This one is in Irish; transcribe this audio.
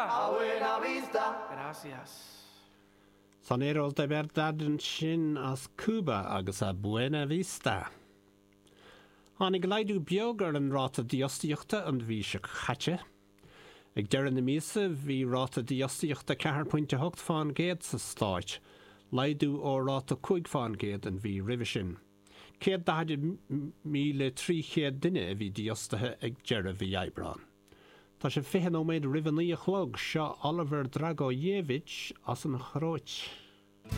A Buena Vista. Gracias. Soneros de Verdad ansin as Cúba agus A Buena Vista. Tháinig laghdú beag ar an ráta dífhostaíochta an mhí seo caite. Ag deireadh na míosa bhí ráta dífhostaíochta 4.8 fán gcéad sa stát, laghdú ó ráta 5 fán gcéad an mhí roimhe sin. 140,300 duine a bhí dífhostaithe ag deireadh mhí Aibreáin. Tá sé 20 nóiméad roimh a 9 a chlog. Seo Oliver Dragojevic as an Chróit.